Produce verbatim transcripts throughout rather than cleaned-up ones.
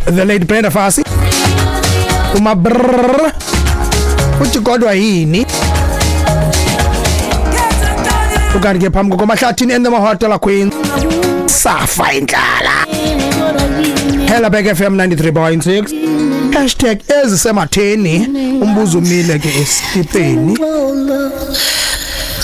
The late Brenda Fassie, umabrr uthi kodwa yini. Ukanti ke phambi komahlathini and the Mahotela Queen, safa indlala. Helderberg F M ninety-three point six, hashtag ezisematheni. Umbuzo umile ke esitipeni.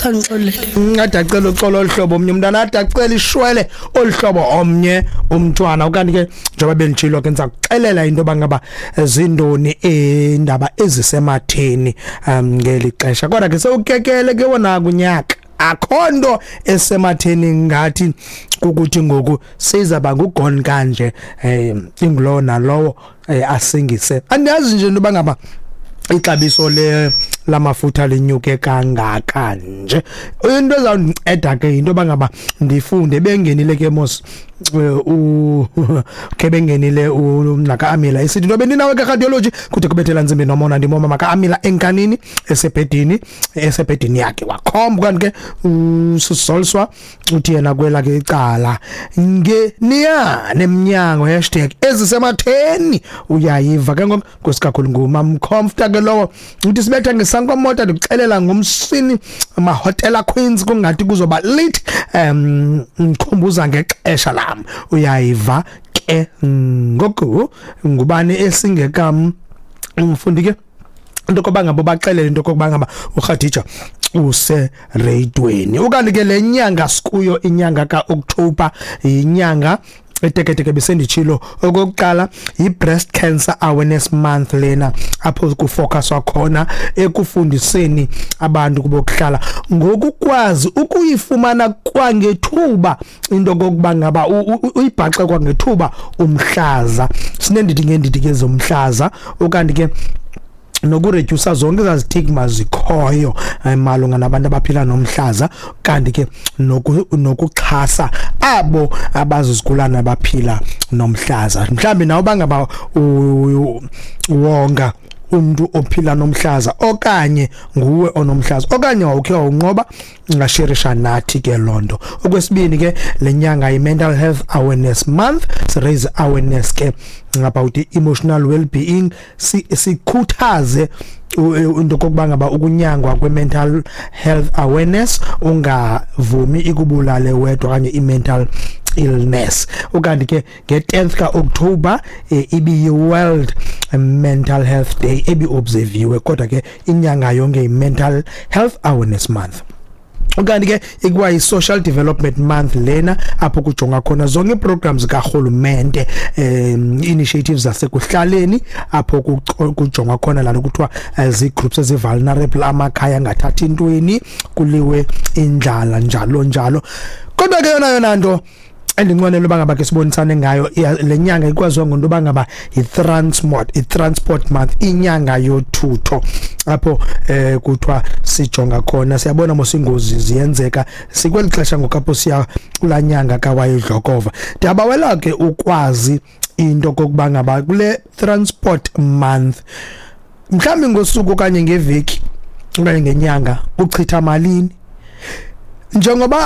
Kangixolele. Ade acela uxolo oluhlobo omnye umntwana, ade acela ishwele oluhlobo omnye umntwana. Ukanti ke njengoba benditshilo ke, ndiza kuxelela into yoba ngaba zindoni iindaba ezisematheni um ngeli xesha. Kodwa ke sewukekele ke wona kunyaka, akho nto esematheni ngathi kukuthi ngoku sizaba ngugone kanje, um ingulowo nalowo eh, asingise. Andiyazi nje into yoba ngaba ixabiso le lamafutha linyuke kangaka nje. Into ezawundinceda ke yinto yoba ngaba ndifunde bengenile ke mos eh, u ke bengenile naka-Amila isithi into bendinawe ke radiology kude kubethela ntsimbi nomona ndimoma maka-Amila enkanini esebhedini esebhedini yakhe wakhomba. Kanti ke uSisolswa uthi yena kwelakhe icala ngeniyane emnyango, hashtag ezisematheni. Uyayiva ke ngoku, nkosi kakhulu, ngumamcomfta ke lowo. Uthi sibetha ngesankomota, ndikuxelela ngomsini Mahotela Queens, kungathi kuzoba lit um ngikhumbuza ngexesha lam. Uyayiva ke ngoku, ngubani esingekam umfundi ke into koba ngabo baxelele into kokuba ngaba uKhadija usereyidweni. Ukanti ke le nyanga sikuyo, inyanga kaOctober, inyanga eteketeke, besenditshilo okokuqala, yi-Breast Cancer Awareness Month lena, apho kufocuswa khona ekufundiseni abantu kubokuhlala ngokukwazi ukuyifumana kwangethuba into kokuba ngaba uyibhaxe kwangethuba umhlaza. Sinendidi ngendidi ke zomhlaza, ukanti ke nokuredusa zonke ezaa stigma zikhoyo eh, malunga nabantu abaphila nomhlaza, kanti ke nokuxhasa abo abazizigulana abaphila nomhlaza. Mhlambi nawe bangaba wonga umuntu ophila nomhlaza, okanye nguwe onomhlaza, okanye wawukhe wawunqoba, ungasherisha nathi ke lonto. Okwesibini ke, lenyanga yi-Mental Health Awareness Month. Si raise awareness ke about emotional well-being, sikhuthaze into kokuba ngaba ukunyangwa kwe-mental health awareness, ungavumi ikubulale wedwa okanye i-mental illness. Ukanti ke nge-tenth ka-October eh, ibiyi-World Mental Health Day ebi-observiwe, kodwa ke inyanga yonke yi-Mental Health Awareness Month. Ukanti ke ikwayi-Social Development Month lena, apho kujonga khona zonke ii-programs karhulumente, um initiatives zasekuhlaleni, apho kujongwa khona laa nto kuthiwa zii-groups ezi-vulnerable, amakhaya angathathi ntweni, kuliwe indlala, njalo njalo. Kodwa ke yona yona nto endinqwenela uba ngaba ke sibonisane ngayo, le nyanga ikwaziwa ngento yoba ngaba yi-transport i-transport month, inyanga yothutho, apho eh kuthiwa sijonga khona. Siyabona mos ingozi ziyenzeka, sikweli xesha ngoku apho siya kulaa nyanga kaWayidlokova. Ndiyabawela ke ukwazi into kokuba ngaba kule Transport Month, mhlawumbi ngosuku okanye ngeveki okanye ngenyanga, uchitha malini njengoba